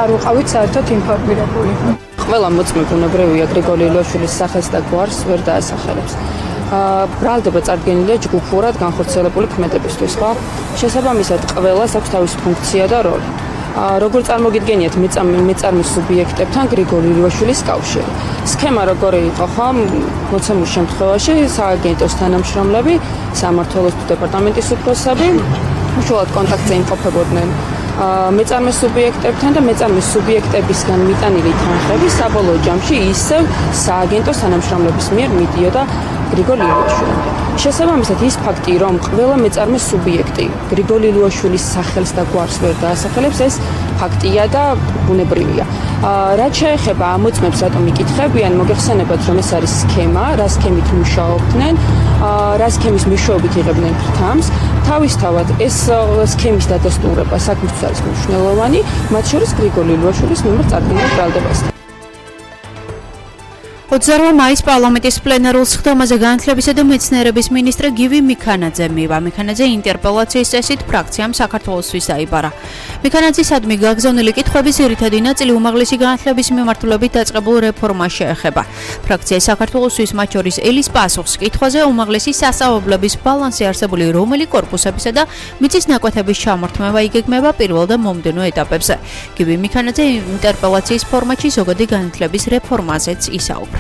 არ ვიყავით საერთოდ ინფორმირებული. ყველა მოწმე ბუნებრივია გრიგოლი ილუაშვილის სახელს და გვარს ვერ დაასახელებს. ბრალდება წარდგენილია ჯგუფურად განხორციელებული ქმედებისთვის, ხო? შესაბამისად, ყველას აქვს თავისი ფუნქცია და როლი. როგორ წარმოგიდგენიათ მეწარმის სუბიექტებთან გრიგოლი ილუაშვილის კავშირი? სქემა როგორი იყო, ხო? მოცემულ შემთხვევაში სააგენტოს თანამშრომლები, სამმართველოს დეპარტამენტის უფროსები უშუალოდ კონტაქტზე იმყოფებოდნენ მეწარმის სუბიექტებთან და მეწარმის სუბიექტებისგან მიტანილი თანხები საბოლოო ჯამში ისევ სააგენტოს თანამშრომლების მიერ მიდიოდა გრიგოლი ილუაშვილამდე. შესაბამისად, ის ფაქტი, რომ ყველა მეწარმის სუბიექტი გრიგოლი ილუაშვილის სახელს და გვარს ვერ დაასახელებს, ეს ფაქტია და ბუნებრივია. რაც შეეხება ამ მოწმებს, რატომ იკითხებიან, მოგეხსენებათ, რომ ეს არის სქემა, რა სქემით მუშაობდნენ, რა სქემის მეშვეობით იღებდნენ ფრთამს. თავისთავად ეს სქემის დადასტურება საქმისთვის არის მნიშვნელოვანი, მათ შორის გრიგოლი ილუაშვილის მიმართ წარდგენილ ბრალდებასთან. 28 მაისს პარლამენტის პლენარულ სხდომაზე განათლებისა და მეცნიერების მინისტრ გივი მიქანაძე მივა. მიქანაძე ინტერპელაციის წესით ფრაქციამ საქართველოსთვის დაიბარა. მიქანაძისადმი გაგზავნილი კითხვების ძირითადი ნაწილი უმაღლესი განათლების მიმართულებით დაწყებულ რეფორმას შეეხება. ფრაქცია საქართველოსთვის მათ შორის ელის პასუხს კითხვაზე უმაღლესი სასწავლებლების ბალანსი არსებული რომელი კორპუსებისა და მიწის ნაკვეთების ჩამორთმევა იგეგმება პირველ და მომდევნო ეტაპებზე. გივი მიქანაძე ინტერპელაციის ფორმატში ზოგადი განათლების რეფორმაზეც ისაუბრა.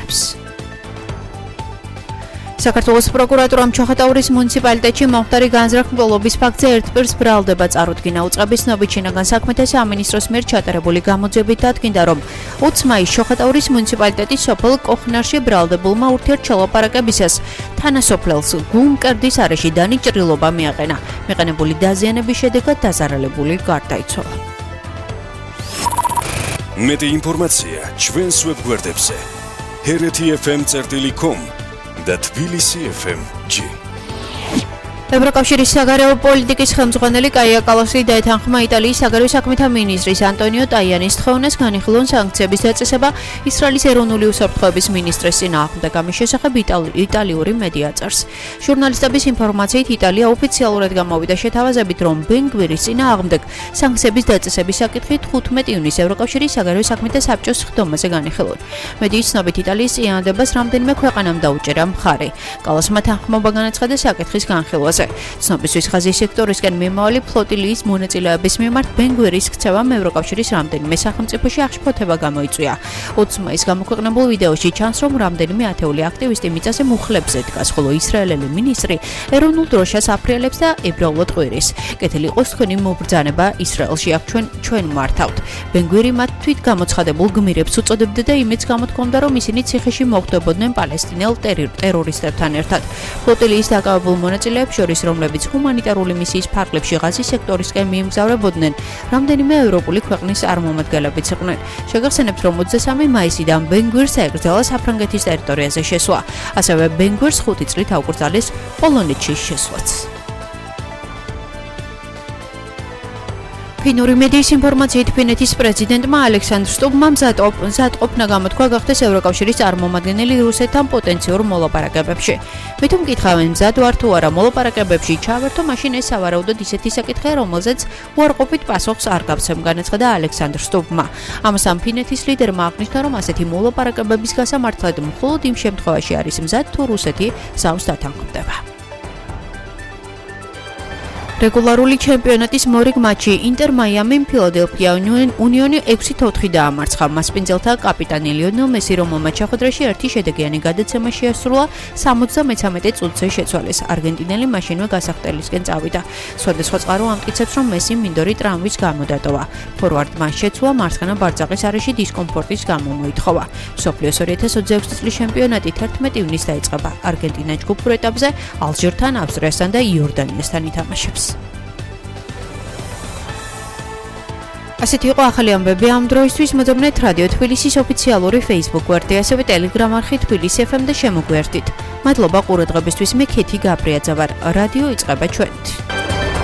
საქართველოს პროკურატურამ ჩოხატაურის მუნიციპალიტეტში მომხდარი განზრახმლობის ფაქტზე ერთპირს ბრალდება წარუდგინა. უწყების ცნობით შინაგან საქმეთა სამინისტროს მიერ ჩატარებული გამოძიებით დადგინდა, რომ 20 მაისს ჩოხატაურის მუნიციპალიტეტის სოფელ კოხნარში ბრალდებულმა ურთიერთჩელაპარაკებისას თანასოფლელს გულმკერდის არეში დანიჭრილობა მიაყენა. მიყენებული დაზიანების შედეგად დაზარალებული გარდაიცვალა. მეტი ინფორმაცია ჩვენს ვებგვერდებზე hereti.fm.com და tbilisi.fm.g. ევროკავშირის საგარეო პოლიტიკის ხელმძღვანელი კაია კალასი დაეთანხმა იტალიის საგარეო საქმეთა მინისტრის ანტონიო ტაიანის თხოვნას განიხილონ სანქციების დაწესება ისრაელის ეროვნული უსაფრთხოების მინისტრის წინააღმდეგ. ამის შესახებ იტალიური მედია წერს. ჟურნალისტების ინფორმაციით იტალია ოფიციალურად გამოვიდა შეთავაზებით, რომ ბენ-გვირის წინააღმდეგ სანქციების დაწესების საკითხი 15 ივნისს ევროკავშირის საგარეო საქმეთა საბჭოს სხდომაზე განიხილონ. მედიის ცნობით იტალიის წინააღმდებას რამდენიმე ქვეყანამ დაუჭერა მხარი. კალასმა თანხმობა განაცხადა საკითხის განხილვაზე. ცნობისთვის ხაზის სექტორისკენ მიმავალი ფლოტილიის მონაწილეების მიმართ ბენ-გვირის ქცევამ ევროკავშირის რამდენიმე სახელმწიფოში აღშფოთება გამოიწვია. 20 მაისს გამოქვეყნებულ ვიდეოში ჩანს, რომ რამდენიმე ათეული აქტივისტი მიწაზე მუხლებზე დგას, ხოლო ისრაელელი მინისტრი ეროვნულ დროშას აფრიალებს და ებრაულად ყვირის. კეთილი იყოს თქვენი მობრძანება ისრაელში, აქ ჩვენ მართავთ. ბენ-გვირი მათ თვით გამოცხადებულ გმირებს უწოდებდა და იმედს გამოთქვამდა, რომ ისინი ციხეში მოხვდებოდნენ პალესტინელ ტერორისტებთან ერთად. ფლოტილიის დაკავებულ მონაწილეებს რომლებიც ჰუმანიტარული მისიის ფარგლებში ღაზის სექტორისკენ მიემგზავრებოდნენ, რამდენიმე ევროპული ქვეყნის წარმომადგენლებიც იყვნენ. შეგახსენებთ, რომ 23 მაისიდან ბენ-გვირს ეკრძალა საფრანგეთის ტერიტორიაზე შესვლა. ასევე ბენ-გვირს 5 წლით აუკრძალეს პოლონეთში შესვლაც. ფინური მედიის ინფორმაციით ფინეთის პრეზიდენტმა ალექსანდრ სტუბმა მზადყოფნა გამოთქვა გახდეს ევროკავშირის წარმომადგენელი რუსეთთან პოტენციურ მოლაპარაკებებში. მით უმკითხავენ მზად ვარ თუ არა მოლაპარაკებებში ჩავერთო, მაშინ ეს სავარაუდოდ ისეთი საკითხია, რომელზეც უარყოფით პასუხს არ გავცემ, განაცხადა ალექსანდრ სტუბმა. ამასთან ფინეთის ლიდერმა აღნიშნა, რომ ასეთი მოლაპარაკებების გასამართლად მხოლოდ იმ შემთხვევაში არის მზად, თუ რუსეთი ზავს დათანხმდება. რეგულარული ჩემპიონატის მორიგ მატჩი ინტერ მაიამიმ ფილადელფია უნიონი 6-4 დაამარცხა. მასპინძელთა კაპიტანი ლიონელ მესი, რომელმაც შეხვედრაში ერთი შედეგიანი გადაცემა შეასრულა, 73 წუთზე შეცვალეს. არგენტინელი მაშინვე გასახდელისკენ წავიდა. სხვადასხვა წყარო ამტკიცებს, რომ მესიმ მინდორი ტრავმის გამო დატოვა. ფორვარდმა შეცვლა მარცხენა ბარძაყის არეში დისკომფორტის გამო მოითხოვა. მსოფლიოს 2026 წლის ჩემპიონატი 11 ივნისს დაიწყება. არგენტინა ჯგუფურ ეტაპზე ალჟირთან, ავსტრიასთან და იორდანიასთან ითამაშებს. ასეთი იყო ახალი ამბები ამ დროისთვის. მოძებნეთ რადიო თბილისის ოფიციალური Facebook გვერდი, ასევე Telegram არხი თბილისი FM და შემოგვერთით. მადლობა ყურადღებისთვის. მე ქეთი გაბრიაძე ვარ. რადიო იწყება ჩვენით.